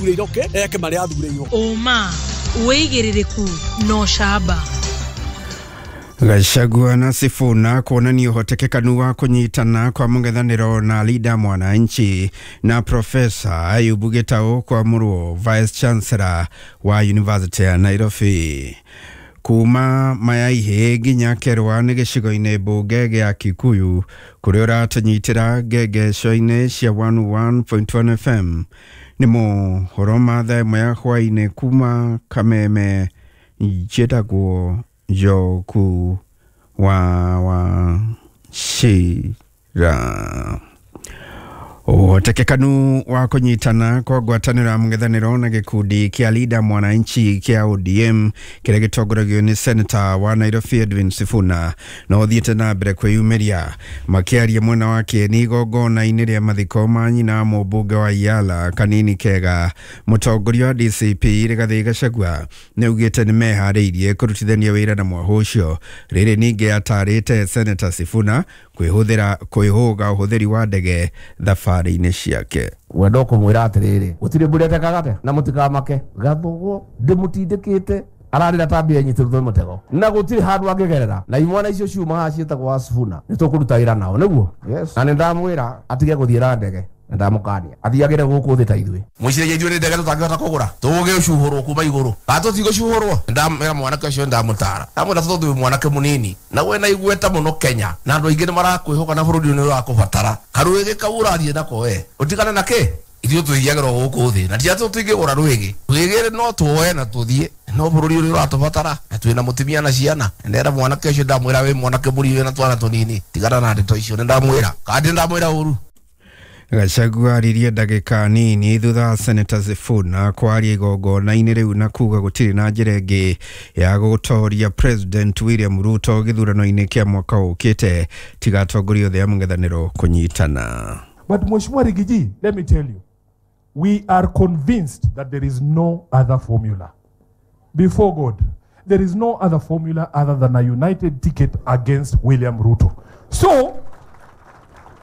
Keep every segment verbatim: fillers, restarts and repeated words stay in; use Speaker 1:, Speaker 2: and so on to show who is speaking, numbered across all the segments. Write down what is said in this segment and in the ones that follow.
Speaker 1: Athurĩirwo eke marĩa athurĩirwo.
Speaker 2: Ũma wĩigĩrĩrĩku no camba.
Speaker 3: Gachagua na Sifuna kuonania ũhotekekanu wa kũnyitana kwa mũng'ethanĩro na Linda Mwananchi na Profesa Ayubu Gitau kwamũrwo Vice Chancellor wa University ya Nairobi. Kuma Mayaihe nginya Kerwa nĩ gĩcigo-inĩ mbunge gĩa Kikuyu kũrĩa ũratũnyitĩra ngengeco-inĩ cia one one point one F M. Nĩ mohoro ma thaa ĩmwe ya hwaĩ-inĩ kuma Kameme, njĩtagwo Njoku wa Wachira. Ũhotekekanu wa kũnyitana kwa ngwatanĩro ya mũng'ethanĩro na gĩkundi kĩa Linda Mwananchi kĩa O D M kĩrĩa gĩtongoragio nĩ Senator wa Nairobi Edwin Sifuna no ũthiĩte na mbere kwĩyumĩria. Makĩaria mwena wa kĩeni igongona-inĩ rĩa mathiko ma nyina mũmbunge wa Yala Kanini Kega, mũtongoria wa D C P Rigathĩ Gachagua nĩaugĩte nĩmeharĩirie kũrutithania wĩra na mwahũ ũcio. Rĩrĩ ningĩ atarĩte Senator Sifuna kwĩhũthĩra kwĩhũga ũhũthĩri wa ndege thabarĩ-inĩ ciake.
Speaker 4: Wendo kũmwĩra atĩrĩrĩ, gũtirĩ mbũri atekaga na mũtikamake gathũgũ ndĩmũtindĩkĩte ararĩra ta mbia nyitĩrĩtwo mũtego na gũtirĩ handũ angĩgerera na imwana icio ciuma haha ciĩtagwo wa Sifuna nĩtũkũruta wĩra nao nĩguo. Yes. Na nĩndamwĩra atige gũthiĩ na ndege na ndamũkania athiagĩre gũkũ thĩ ta ithuĩ. Mwĩciragia ithuĩ nĩ ndege tũtangĩhota kũgũra tũgũgĩcuhũrwo kuma igũrũ kana tũtigũcuhũrwo. Ndamwĩra mwanake ũcio ndamũtara ndamwĩra tondũ wĩ mwanake mũnini na wĩna igweta mũno Kenya na andũ aingĩ nĩmarakwĩhoka na bũrũri ũyũ nĩũrakũbatara karũĩgĩ kau ũrathiĩ nako we ũtigane na kĩ ithuĩ tũthiagĩrwo gũkũ thĩ na ti atĩ tũtingĩgũra rwĩgĩ rwĩgĩ no tuoe na tũthiĩ no bũrũri ũrĩa ũratũbatara na twĩna mũtumia na ciana. Ndera mwanake ũcio ndamwĩra wĩ mwanake mũnini wĩna twana tũnini tigana na ndeto icio nĩndamwĩra kana ndamwĩra ũru.
Speaker 3: Gachagua aririe ndagĩka nini thutha wa Senator Sifuna kwaria igongona-inĩ rĩu na kuga gũtirĩ na njĩra ĩngĩ ya gũtoria President William Ruto gĩthurano-inĩ kĩa mwaka ũkĩte tiga atongoria othe a mũng'ethanĩro kũnyitana.
Speaker 5: But Mheshimiwa Rigiji, let me tell you, we are convinced that there is no other formula. Before God, there is no other formula other than a united ticket against William Ruto. So,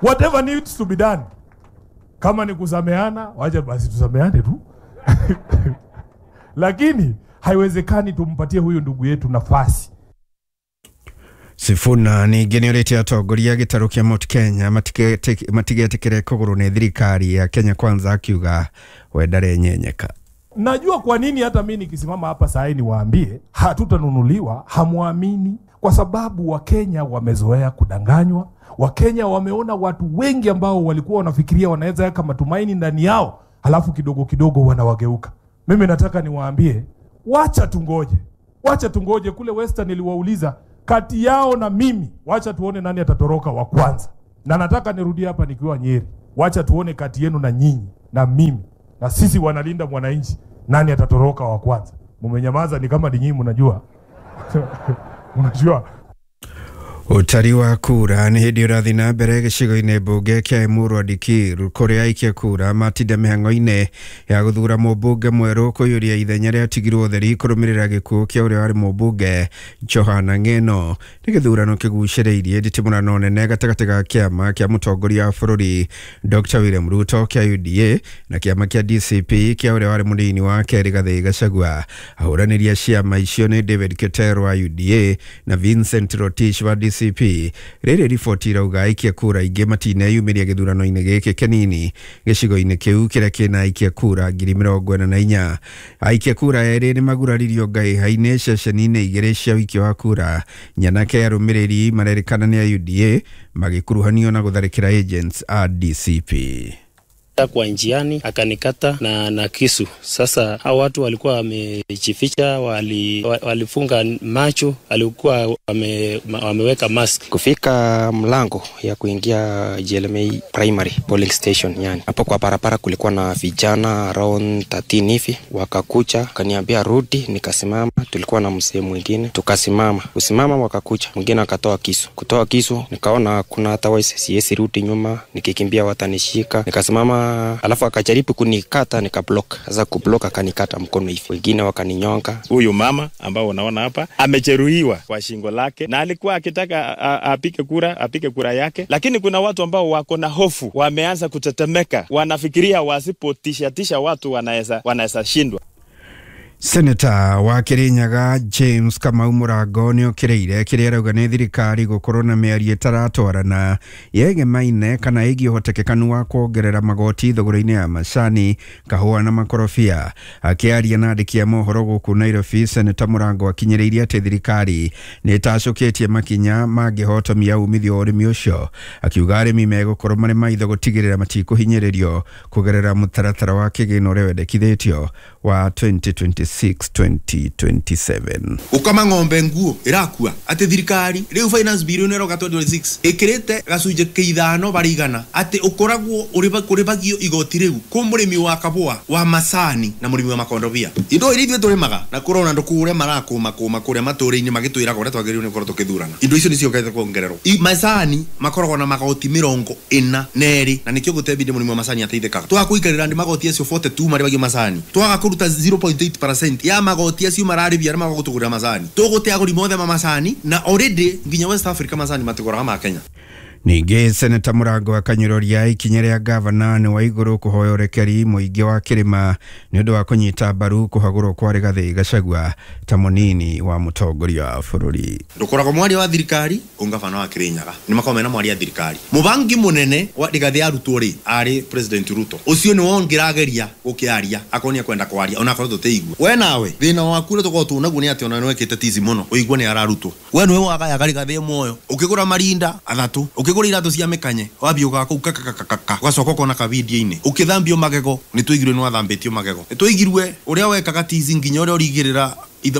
Speaker 5: whatever needs to be done, kama ni kusameana, wacha basi tusameane tu. Lakini haiwezekani tumpatie huyu ndugu yetu nafasi.
Speaker 3: Sifuna ningĩ nĩorĩtie atongoria gĩtarũ kĩa Mount Kenya matigetĩkĩre kũgũrwo nĩ thirikari ya Kenya Kwanza akiuga we ndarenyenyeka.
Speaker 5: Najua kwa nini hata mimi nikisimama hapa saa hii niwaambie hatutanunuliwa, hamuamini, kwa sababu Wakenya wamezoea kudanganywa. Wakenya wameona watu wengi ambao walikuwa wanafikiria wanaweza weka matumaini ndani yao, halafu kidogo kidogo wanawageuka. Mimi nataka niwaambie, wacha tungoje. Wacha tungoje. Kule Western niliwauliza kati yao na mimi, wacha tuone nani atatoroka wa kwanza. Na nataka nirudie hapa nikiwa Nyeri, wacha tuone kati yenu na nyinyi na mimi na sisi wanalinda mwananchi, nani atatoroka wa kwanza. Mumenyamaza ni kama ni nyinyi mnajua. Unajua.
Speaker 3: Ũtari wa kura nĩ hĩndĩ ũrathiĩ na mbere gĩcigo-inĩ mbunge kĩa Emurua Dikirr kũrĩa aikia kura matinda mĩhang'o-inĩ ya gũthura mũmbunge mwerũ kũiyũria ithenya rĩatigirwo ũtheri kũrũmĩrĩra gĩkuũ kĩa ũrĩa warĩ mũmbunge Johana Ng'eno. Nĩ gĩthurano kĩgucĩrĩirie nditimũrano nene gatagatĩ ga kĩama kĩa mũtongoria wa bũrũri Doctor William Ruto kĩa U D A na kĩama kĩa D C P kĩa ũrĩa warĩ mũnini wake Rigathĩ Gachagua. Ahũranĩri a ciama icio nĩ David Keter wa U D A na Vincent Rotich wa D C P. Rĩrĩ riboti irauga aikia kura aingĩ matineyumĩria gĩthurano-inĩ gĩkĩ kĩnini gĩcigo-inĩ kĩu kĩrĩa kĩna aikia kura ngiri mĩrongo ĩna na inya. Aikia kura erĩ nĩmaguraririo ngaiha-inĩ ceceni-inĩ igĩrĩ cia ũikia wa kura. Nyanake arũmĩrĩri marerĩkana nĩ a U D A magĩkuruhanio na gũtharĩkĩra agents a D C P.
Speaker 6: Kwa njiani akanikata na, na kisu. Sasa hao watu walikuwa wamejificha, wali, walifunga macho, walikuwa wame, wameweka mask.
Speaker 7: Kufika mlango ya kuingia G L M A Primary Polling Station, yani hapo kwa barabara kulikuwa na vijana around thirteen hivi, wakakuja kaniambia rudi, nikasimama. Tulikuwa na mzee mwingine tukasimama, kusimama wakakuja, mwingine akatoa kisu. Kutoa kisu nikaona kuna hata waisi, siwezi rudi nyuma, nikikimbia watanishika. Nikasimama Akasema, alafu akajaribu kunikata nikablock. Sasa kublock akanikata mkono hivi. Wengine wakaninyonga.
Speaker 6: Huyu mama ambao unaona hapa amejeruhiwa kwa shingo lake, na alikuwa akitaka apike kura, apike kura yake, lakini kuna watu ambao wako na hofu, wameanza kutetemeka, wanafikiria wasipotisha tisha watu wanaweza wanaweza shindwa.
Speaker 3: Seneta wa Kirinyaga James Kamau Mũrango nĩokĩrĩire kĩrĩa arauga nĩ thirikari gũkorwo na mĩario ĩtaratwarana yegemaine kana ĩgiĩ ũhotekekanu wa kuongerera magoti thogora-inĩ ya macani, kahũa na makorobia. Akĩaria na andĩki a mohoro gũkũ Nairobi, Seneta Mũrango akinyĩrĩirie atĩ thirikari nĩ ĩtacũkĩtie makinya mangĩhotomia umithio wa ũrĩmi ũcio, akiuga arĩmi megũkorwo marĩ maitho gũtigĩrĩra matikũhinyĩrĩrio kũgerera mũtaratara wa kĩgĩna ũrĩa wendekithĩtio wa twenty twenty-six twenty twenty-seven.
Speaker 8: Ukama ng'ombe nguo irakua ati thirikari riu finance bill ino iroka twenty twenty-six ikirite gacunjĩ kĩa ithano barĩ igana ati ukoragwo uribagio igoti riu ku murimi wa kabua wa macani na murimi wa makondobia. Indo iria ithuĩ tũrĩmaga na kũrona andũ kũrĩa marakũma kũma kũrĩa matũũra-inĩ magĩtwĩraga ũrĩa twagĩrĩirwo nĩ gũkorwo tũkĩthurana. Indo icio nĩciokete kuongererwo. Macani makoragwo na magoti mĩrongo ĩna na ĩrĩ na nĩkĩo gũtembinde mũrĩmi wa macani ateithĩkaga. Twaga kũikarĩra ndĩ magoti acio forty-two marĩbagio macani, twaga kũruta zero point eight percent ya magoti acio mararĩbia arĩa magũtũgũrĩra macani, tũgũte agũri mothe ma macani na already nginya West Africa macani matigũraga ma Kenya.
Speaker 3: Ningĩ Seneta Mũrango akanyũrũria ikinya rĩa gavana nĩ wa igũrũ kũhoya ũrekeri mũingĩ wa kĩrĩma nĩ ũndũ wa kũnyita mbaru kũhagũrwo kwa Rigathĩ Gachagua ta mũnini wa mũtongoria wa bũrũri.
Speaker 8: Ndũkoragwo mwaria wa thirikari ũngavana wa Kirinyaga nĩ makoragwo mena mwaria wa thirikari. Mũbangi mũnene wa Rigathĩ arutwo rĩ arĩ President Ruto, ũcio nĩwe ũngĩrageria gũkĩaria akorwo nĩ ekwenda kwaria onakorwo tũtĩigua. We nawe thĩna waku ũrĩa tũkoragwo tũnaguo nĩ atĩ ona nĩwekĩte tizi mũno ũigue nĩ ararutwo. We nĩwe wagayaga Rigathĩ muoyo ũkĩgũra marinda athatũ, ũkĩgũra iratũ cia mĩkanye wambia ũgaga kũu kakakakaka ũgacoka ũkona kavidio-inĩ ũkĩthambio magego nĩ tũigirwe nĩ wathambĩtio magego, nĩ tũigirwe ũrĩa wekaga tizi nginya ũrĩa ũrigĩrĩra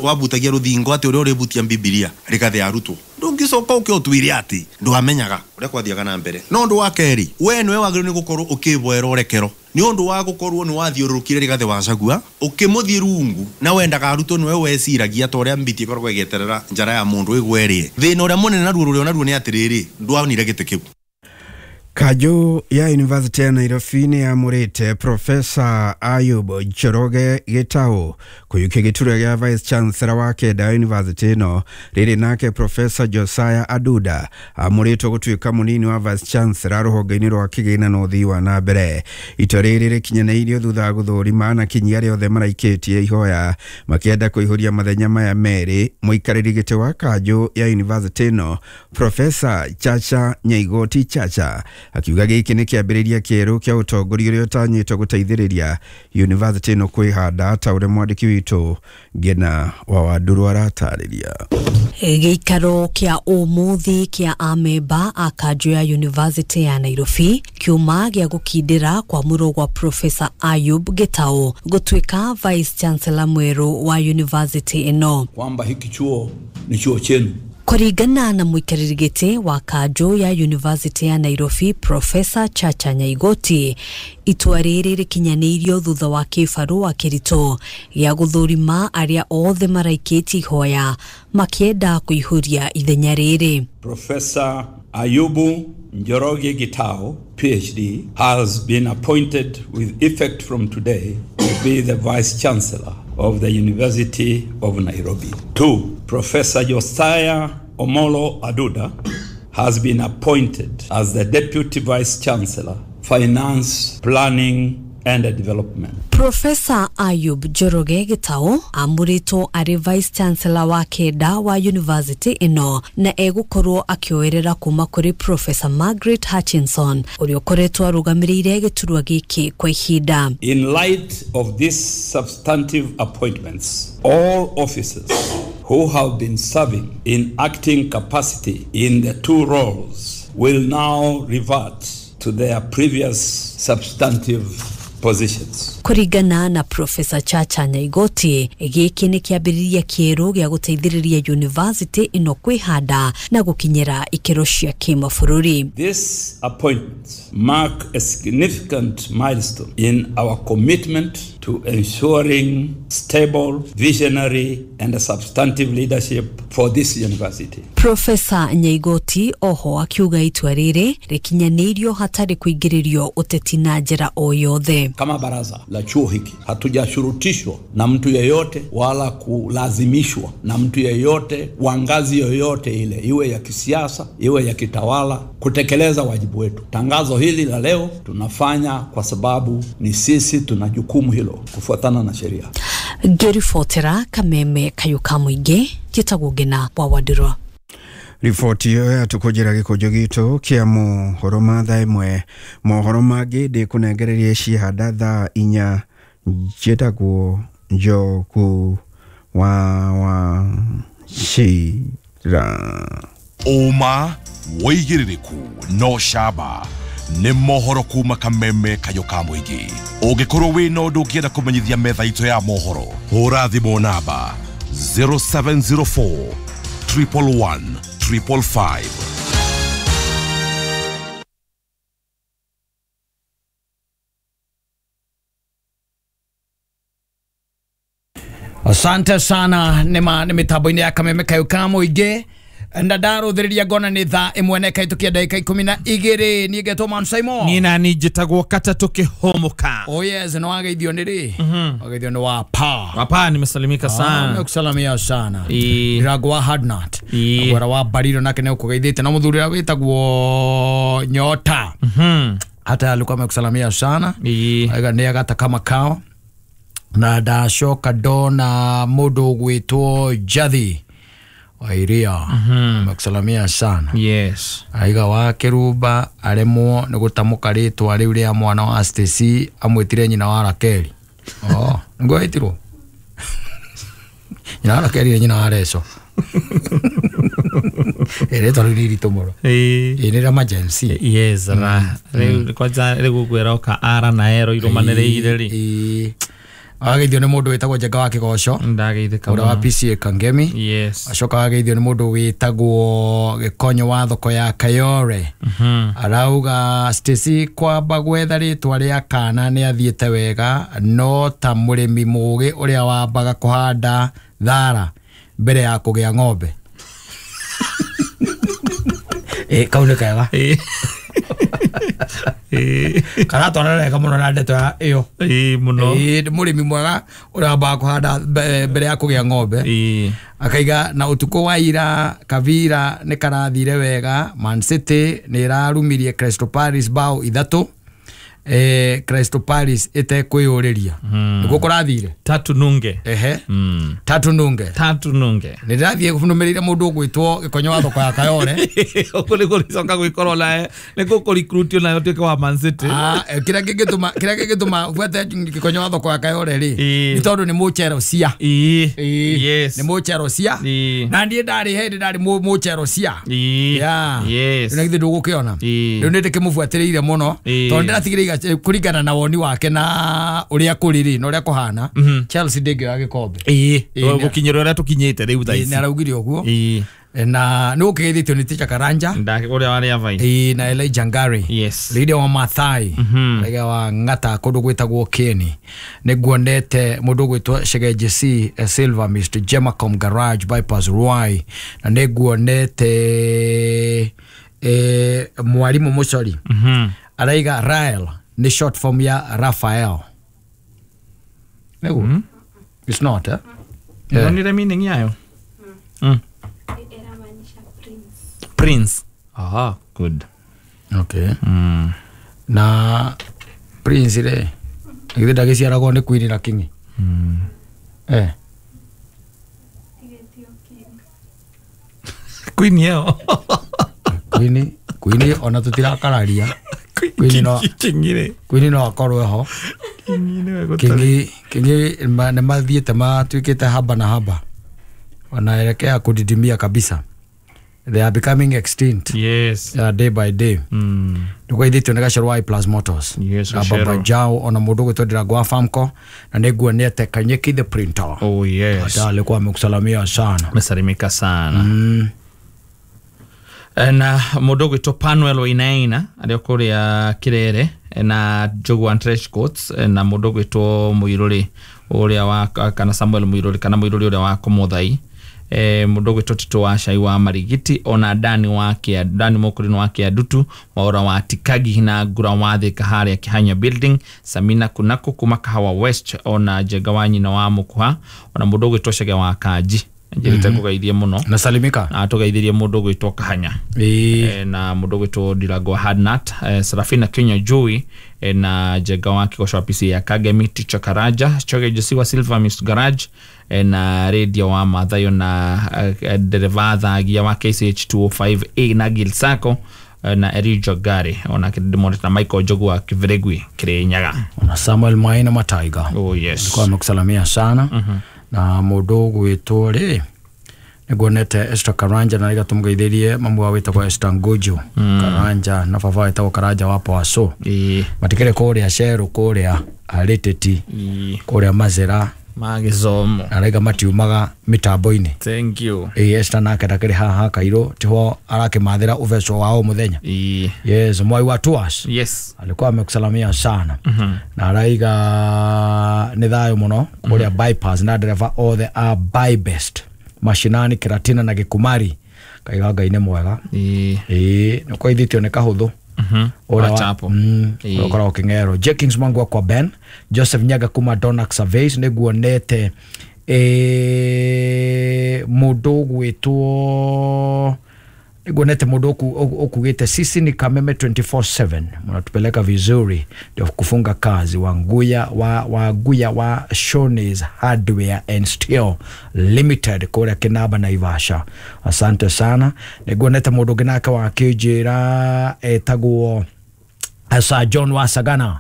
Speaker 8: wabutagia rũthingo atĩ ũrĩa ũrĩbutia Bibilia Rigathĩ arutwo. Ndũngĩcoka ũke ũtwĩre atĩ ndwamenyaga ũrĩa kwathiaga na mbere. No ũndũ wa kerĩ, we nĩwe wagĩrĩirwo nĩ gũkorwo ũkĩboera ũrekero nĩ ũndũ wa gũkorwo nĩ wathiũrũrũkire Rigathĩ wa Gachagua ũkĩmũthiĩ rungu na wendaga arutwo nĩwe weciragia ta ũrĩa mbiti ĩkoragwo ĩgĩeterera njara ya mũndũ ĩgwe ĩrĩe. Thĩna ũrĩa mũnene naruo rũrĩa naruo nĩ atĩrĩrĩ, ndwonire gĩtĩ kĩu.
Speaker 3: Kanjũ ya University ya Nairobi nĩ yamũrĩte Professor Ayub Njoroge Gitau kũiyũkia gĩturwa gĩa Vice Chancellor wa kenda University ĩno. Rĩrĩ nake Professor Josiah Aduda amũrĩtwo gũtuĩka mũnini wa Vice Chancellor rũhonge-inĩ rwa kĩgĩna na ũthii wa na mbere. Itua rĩrĩ rĩkinyanĩirio thutha wa gũthũrima na kinyi arĩa othe maraikĩtie ihoya makĩenda kũihũria mathenya maya merĩ. Mũikarĩri gĩtĩ wa kanjũ ya University ĩno Professor Chacha Nyaigoti Chacha akiuga gĩkĩ nĩ kĩambĩrĩria kĩerũ kĩa ũtongoria ũrĩa ũtanyĩtwo gũteithĩrĩria university ĩno kwĩhanda ta ũrĩa mwandĩki witũ Ngena wa Wandũrũ aratarĩria.
Speaker 9: Gĩikaro kĩa ũmũthĩ kĩa amemba a kanjũ ya University ya Nairobi kiuma gĩa gũkindĩra kwamũrwo gwa Professor Ayub Gitau gũtuĩka Vice Chancellor mwerũ wa university ĩno,
Speaker 10: kwamba hiki chuo ni chuo chenu.
Speaker 9: Kũringana na mũikarĩri gĩtĩ wa kanjũ ya University ya Nairobi Professor Chacha Nyaigoti, itua rĩrĩ rĩkinyanĩirio thutha wa kĩbarũa kĩritũ gĩa gũthũrima arĩa othe maraikĩtie ihoya makĩenda kũihũria ithenya rĩrĩ.
Speaker 10: Professor Ayubu Njoroge Gitau, P H D, has been appointed with effect from today to be the Vice Chancellor of the University of Nairobi. Two, Professor Josiah Omolo Aduda has been appointed as the Deputy Vice Chancellor, Finance, Planning and Development.
Speaker 9: Professor Ayub Njoroge Gitau amũrĩtwo arĩ Vice Chancellor wa kenda wa University ĩno na egũkorwo akĩoerera kuma kũrĩ Professor Margaret Hutchinson ũrĩa ũkoretwo arũgamĩrĩire gĩturwa gĩkĩ kwa ihinda.
Speaker 10: In light of these substantive appointments, all officers who have been serving in acting capacity in the two roles will now revert to their previous substantive positions.
Speaker 9: Kũringana na Professor Chacha Nyaigoti, gĩkĩ nĩ kĩambĩrĩria kĩerũ gĩa gũteithĩrĩria university ĩno kwĩhanda na gũkinyĩra ikĩro cia kĩmabũrũri.
Speaker 10: This appointment mark a significant milestone in our commitment to ensuring stable, visionary and substantive leadership for this university.
Speaker 9: Profesa Nyaigoti oho akiuga itua rĩrĩ rĩkinyanĩirio hatarĩ kuingĩrĩrio ũteti na njĩra o yothe.
Speaker 10: Kama baraza la chuo hiki hatujashurutishwa na mtu yeyote wala kulazimishwa na mtu yeyote wa ngazi yoyote ile, iwe ya kisiasa iwe ya kitawala, kutekeleza wajibu wetu. Tangazo hili la leo tunafanya kwa sababu ni sisi tuna jukumu hilo kufuatana na sheria.
Speaker 9: Ngĩribotera Kameme Kayuka Mũingĩ, njĩtagwo Ngina wa Wandirwa.
Speaker 3: Riboti ĩyo yatukũnjĩra gĩkũnjũ gitũ kĩa mohoro ma thaa ĩmwe. Mohoro mangĩ ndĩkũnengererie ciehanda thaa inya. Njĩtagwo Njogu wa Wachira.
Speaker 11: Ũma wĩigĩrĩrĩku no camba nĩ mohoro kuma Kameme Kayũ ka Mũingĩ. Ũngĩkorwo wĩna ũndũ ũngĩenda kũmenyithia metha itũ ya mohoro, hũra thimũ namba zero seven zero four triple one triple five.
Speaker 12: Asante sana nĩma nĩ mĩtambo-inĩ ya Kameme Kayũ ka Mũingĩ. Na ndarothĩrĩria ngona nĩ thaa ĩmwe na ĩkahĩtũkia ndagĩka ikũmi na igĩrĩ. Niĩ ngetwo Man Simon.
Speaker 13: Niĩ nani njĩtagwo Katatũ Kĩhũmũka.
Speaker 12: Oh yes, nĩ wageithio nĩ rĩ? Wageithio nĩ Wapa.
Speaker 13: Wapa, nimesalimika sana.
Speaker 12: Nimekusalimia sana. Ndĩragwo wa Hardnut. Agwara wa Bariro nake nĩ ũkũgeithĩte na mũthuri ũrĩa wĩtagwo Nyota. Hata alikuwa amekusalimia sana. Aiga nĩ agata kama kao. Na ndacoka ndona mũndũ ũgwĩtwo Jathi Wairia. Amekusalimia sana.
Speaker 13: Yes.
Speaker 12: Aiga wa Kĩrumba aremwo nĩ gũtamũka rĩtwa rĩu rĩa mwana wa Stacy, amwĩtire nyina wa Rakeli. Oh, nĩguo ĩtirwo nyina wa Rakeli nĩ nyina wa Reco. Rĩtwa rĩu nĩ iritũ mũno. Ĩĩ nĩ rĩa Gen Z.
Speaker 13: Yes, ra rĩu kwanja rĩu ngwĩra oka ara na ero irũmanĩrĩire rĩ.
Speaker 12: Ĩĩ. Wageithio nĩ mũndũ wĩtagwo Njenga wa Kĩgoco.
Speaker 13: Ndageithĩka
Speaker 12: ũrĩa wa P C A Kangemi.
Speaker 13: Yes.
Speaker 12: Acoka wageithio nĩ mũndũ wĩtagwo Gĩkonyo wa thoko ya Kayore. Arauga Stacy kwamba gwetha rĩtwa rĩa kana nĩ athiĩte wega, no ta mũrĩmi mũgĩ ũrĩa wambaga kũhanda thara mbere ya kũgĩa ng'ombe. Ĩ kau nĩ kega. Karatwarana wega mũno na ndeto ya ĩyo.
Speaker 13: Ĩĩ mũno.
Speaker 12: Ĩĩ nĩ mũrĩmi mwega ũrĩa wambaga kũhanda mbere ya kũgĩa ng'ombe.
Speaker 13: Ĩĩ.
Speaker 12: Akaiga na ũtukũ wa ira Kavira nĩ karathire wega. Man City nĩ ĩrarumirie Crystal Palace bao ithatũ. Eh, Crystal Palace ĩtekwĩyũrĩria. Nĩguo kũrathire.
Speaker 13: Tatu nunge.
Speaker 12: Ehe. Tatu nunge.
Speaker 13: Tatu nunge.
Speaker 12: Nĩ ndĩrathiĩ nũmĩrĩire mũndũ ũgwĩtwo Gĩkonyo wa thoko ya Kayore.
Speaker 13: Ũguo nĩguo rĩcoka gwĩkorwo nawe nĩ gũkũrecruitio nawe ũtuĩke wa Man City.
Speaker 12: Ah, kĩrĩa kĩngĩtũma kĩrĩa kĩngĩtũma buate Gĩkonyo wa thoko ya Kayore rĩ nĩ tondũ nĩ mũcherocia.
Speaker 13: Ĩĩ. Yes.
Speaker 12: Nĩ mũcherocia. Na niĩ ndarĩ hĩndĩ ndarĩ mũcherocia.
Speaker 13: Ĩĩ. Yes.
Speaker 12: Na githĩ ndũgũkĩona. Rĩu nĩ ndĩkĩmũbuatĩrĩire mũno tondũ ndĩratigĩrĩire kũringana na woni wake na ũrĩa kũrĩ rĩ na ũrĩa kũhana. Chelsea ndĩngĩoya gĩkombe.
Speaker 13: Ĩĩ. Gũkinyĩra ũrĩa tũkinyĩte rĩu thaa ici.
Speaker 12: Nĩ araugire ũguo. Na nĩ ũkĩgeithĩtio nĩ Ticha Karanja
Speaker 13: ũrĩa warĩ Avai.
Speaker 12: Ĩĩ, na Elijah Ngari.
Speaker 13: Yes.
Speaker 12: Leader wa Mathai. Leader wa Ng'ata kũndũ gwĩtagwo Keni. Nĩ nguonete mũndũ ũgwĩtwo Shegeje C Silver Mister Jemacom Garage Bypass Ruai. Na nĩ nguonete eh mwarimũ Mũcori. Araiga Rael ni short form ya Raphael. Nĩguo? Mm. It's not, eh?
Speaker 13: Yeah. Nonire meaning yayo? Mm. Prince. Aha, good.
Speaker 12: Okay.
Speaker 13: Mm.
Speaker 12: Na Prince rĩ, githĩ ndagĩciaragwo nĩ Queen na King?
Speaker 13: Mm.
Speaker 12: Eh.
Speaker 13: Queen yao.
Speaker 12: Queen, Queen ona tũtirakararia. Queen no
Speaker 13: King
Speaker 12: Queen no akorwo ho. King King nĩ mathiĩte matuĩkĩte haba na haba. Wanaelekea kudidimia kabisa. They are becoming extinct.
Speaker 13: Yes.
Speaker 12: Uh, day by day.
Speaker 13: Mm.
Speaker 12: Nĩkwaithĩtio nĩ Gacero wa Plus Motors.
Speaker 13: Yes,
Speaker 12: na Baba Jao ona mũndũ ũgwĩtwo Ndirangũ wa Famco na nĩnguonete Kanyeki the printer.
Speaker 13: Oh yes.
Speaker 12: Hata alikuwa amekusalamia sana.
Speaker 13: Amesalimika sana.
Speaker 12: Mm.
Speaker 13: Na mũndũ ũgwĩtwo Panuel Wainaina arĩa kũrĩa Kirere na Njogu Trench Coats na mũndũ ũgwĩtwo Mũirũrĩ ũrĩa wa kana Samuel Mũirũrĩ kana Mũirũrĩ ũrĩa wa Kũmũthai eh, mundu gwitwo Tito wa Cai wa Marigiti ona Dani wa Kia Dani Mokurino wa Kiadutu Mwaura wa Tikagi na Ngura wa Thika haria Kihanya Building Samina Kunako kuma Kahawa West ona Njega wa nyina wa Mukuha ona mundu gwitwo Chege wa Kanji njirite kugeithie muno
Speaker 12: na salimika
Speaker 13: na tugeithirie mundu gwitwo Kahanya e, na mundu gwitwo Ndirango Hadnat e, Serafina Kenya Joy e, na Njega wa Kigosho P C ya Kagemi Ticha Karaja Choge Josiwa Silver Miss Garage e, na radio wa Mathayo na e, dereva thagia wa K C H two oh five A na Gil Sako na Erijo Gari ona kidimone na Michael Jogu wa Kiviregwi Kirinyaga
Speaker 12: ona Samuel Maina Mataiga.
Speaker 13: Oh yes,
Speaker 12: alikuwa amekusalamia sana.
Speaker 13: mm -hmm.
Speaker 12: Na mundu gwitwo ri niguonete Esther Karanja na rigatumugeithirie mamu wa witagwo Esther Nguju. mm. Karanja na baba witagwo Karanja wa Poaso matikire kuria Ceru kuria Ariteti kuria Mazera
Speaker 13: magizomo
Speaker 12: na raiga matiumaga mitambo-ini.
Speaker 13: Thank you.
Speaker 12: Ĩ Esther nake ndakĩrĩ haha Kairũ tiho arakimathira ubeco wa o muthenya. Yes, mwai wa tours.
Speaker 13: Yes,
Speaker 12: alikuwa amekusalamia sana.
Speaker 13: mm -hmm.
Speaker 12: Na araiga nĩ thayũ mũno kuria. mm -hmm. Bypass na dereva othe a by best mashinani Kiratina na Gikumari kaiga Ngai nĩ mwega.
Speaker 13: Ĩ
Speaker 12: ĩ nĩ kwaithĩtio nĩ kahũthũ.
Speaker 13: Mhm.
Speaker 12: Ora ukora ukingero Jenkins Mwangu kwa Ben Joseph Nyaga kuma Donax Surveys niguonete eh mundu gwitwo niguonete mundu okugite sisi ni Kameme twenty-four seven mnatupeleka vizuri ndio kufunga kazi wanguya wa waguya wa Shoney's Hardware and Steel Limited kore Kinaba na Ivasha. Asante sana. Niguonete mundu nginake wa kijira etagwo Sir John wa Sagana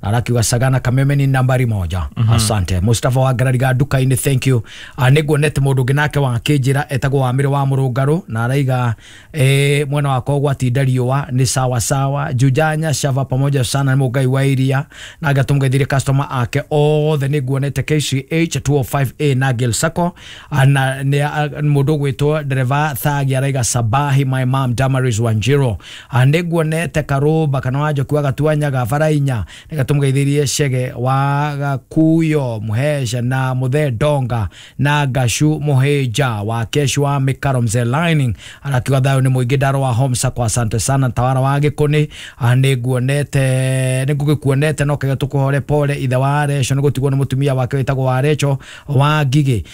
Speaker 12: arakiuga Sagana Kameme ni nambari moja. mm -hmm. Asante Mustafa wa Garariga duka-ini, thank you. Niguonete mundu nginake wa kijira etagwo wa Mire wa Murungaru na araiga eh mwena wakwa gwatinda riũa ni sawa sawa Jujanya Shava pamoja sana Mugai wa iria na agatumgeithirie customer ake othe. Niguonete K C H two oh five A na Gil Sako na mundu gwitwo dereva Thagi araiga Sabahi my mom Damaris Wanjiro. Niguonete Karuba kana wa Njoki wa Gatuanyaga Barainya nigatumgeithirie Chege wa Gakuyo Muhesha na Muthe Donga na Gashu Muheja wa Keshu wa Mikaro Mzee Lining arakiuga thayo ni muingi ndaro wa Homsa kwa asante sana tawara wa Gikuni. Niguonete nigugikuonete no kega tukuhore pole ithe wa Recho nigutigwo ni mutumia wake witagwo wa Recho wa Ngigi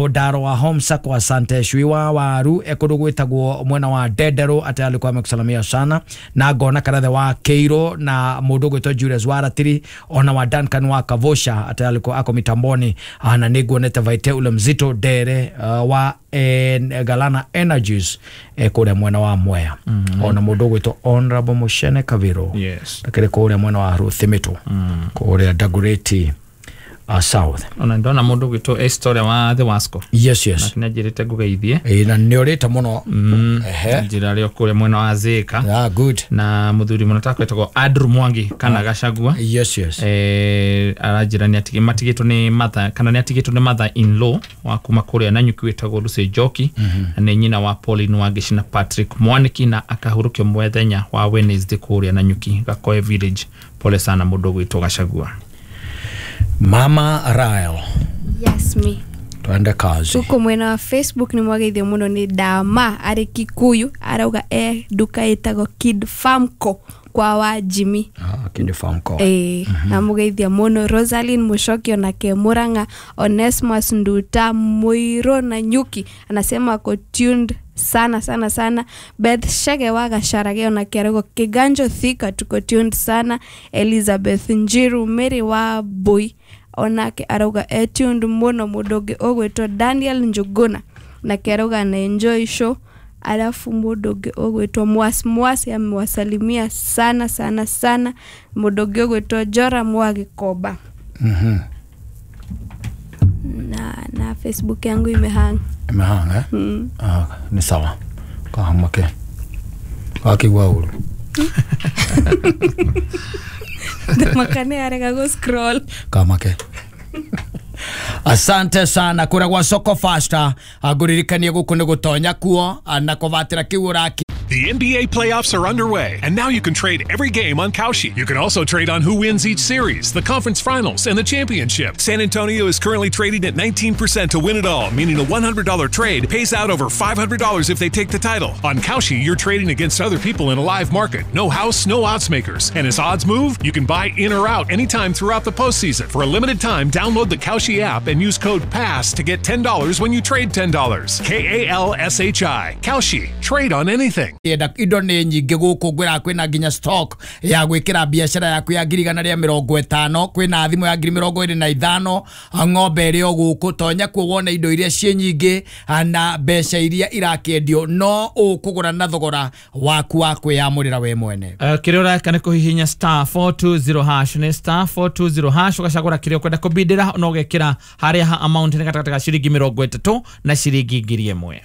Speaker 12: ndaro wa Homsa kwa asante Chui wa Waru ekundu gwitagwo mwena wa Ndendero ate alikuwa amekusalamia sana na ngona karathe wa Keiro na mundu gwitwo Julius Waratiri ona wa Duncan wa Kavosha ate alikuwa ako mitamboni na niguonete Vaite ule mzito Dere uh, wa en, Galana Energies e kuria mwena wa Mwea. mm -hmm. Ona mundu gwitwo Honorable Mushene Kaviro.
Speaker 13: Yes,
Speaker 12: akiri kuria mwena wa Ruthimitu. mm. Kuria Dagoretti uh, South.
Speaker 13: Ona ndona mundu gwitwo Esther wa The Wasco.
Speaker 12: Yes, yes,
Speaker 13: na kinajirite ngugeithie
Speaker 12: e na niorite muno.
Speaker 13: mm.
Speaker 12: Ehe,
Speaker 13: njira rio kuria mwena wa Zika.
Speaker 12: Ah, good.
Speaker 13: Na muthuri muno takwetagwo Andrew Mwangi kana Gachagua.
Speaker 12: Yes, yes.
Speaker 13: Eh arajira ni atige matigitwo ni mother kana ni atigitwo ni mother in law wa kuma kuria na nyuki wetagwo Lucy Njoki.
Speaker 12: mm -hmm.
Speaker 13: Na ni nyina wa Pauline Wangici na Patrick Mwaniki na akahurukio mwethenya wa Wednesday kuria na nyuki Gakoe Village. Pole sana mundu gwitwo Gachagua.
Speaker 12: Mama Rael.
Speaker 14: Yes, me.
Speaker 12: Twende kazi.
Speaker 14: Huko mwena wa Facebook ni mwageithio muno ni Dama ari Kikuyu arauga e duka ĩtagwo Kid Farmco kwa wa Jimmy.
Speaker 12: Ah, Kid Farmco.
Speaker 14: Eh, mm -hmm. Na mugeithia muno Rosaline Mushokio na Kemuranga Onesmus Nduta Muiro na Nyuki anasema ako tuned sana sana sana. Beth Shege wa Gacharage na Kiarogo Kiganjo Thika tuko tuned sana. Elizabeth Njiru Mary wa Boy onake arauga e tuned muno mundu ogwitwo Daniel Njuguna na Kiaroga na enjoy show. Alafu mundu ungi ogwitwo Mwas Mwas amewasalimia sana sana sana. Mundu ungi ogwitwo Jora Mwagikomba.
Speaker 12: Mhm.
Speaker 14: Na na Facebook yangu imehang.
Speaker 12: Imehang eh?
Speaker 14: Mm.
Speaker 12: Ah, ni sawa. Kahamake. Akigwa uru.
Speaker 14: Ndamakane arega go scroll.
Speaker 12: Kamake. Asante sana kura gwa Soko Faster. Nguririkanie guku ni gutonya kuo na kuvatira kiu uraki.
Speaker 15: The N B A playoffs are underway, and now you can trade every game on Kalshi. You can also trade on who wins each series, the conference finals, and the championship. San Antonio is currently trading at nineteen percent to win it all, meaning a one hundred dollar trade pays out over five hundred dollars if they take the title. On Kalshi, you're trading against other people in a live market. No house, no odds makers. And as odds move, you can buy in or out anytime throughout the postseason. For a limited time, download the Kalshi app and use code PASS to get ten dollars when you trade ten dollars. K A L S H I. Kalshi. Trade on anything.
Speaker 12: Enda indo nĩ nyingĩ gũkũ ngwĩra kwĩna nginya stock ya gwĩkĩra biacara yaku ya ngiri igana rĩa mĩrongo ĩtano, kwĩna thimũ ya ngiri mĩrongo ĩrĩ na ithano, ng'ombe ĩrĩ o gũkũ. Tonya kuo wone indo iria ciĩ nyingĩ na mbeca iria irakĩendio, no ũkũgũra na thogora waku wa kwĩyamũrĩra we mwene.
Speaker 13: Uh, kĩrĩa ũreka nĩ kũhihinya star four two zero hash, nĩ star four two zero hash, ũgacagũra kĩrĩa ũkwenda kũbindĩra na ũgekĩra harĩa ha amount nĩ gatagatĩ ga ciringi mĩrongo ĩtatũ na ciringi ngiri ĩmwe.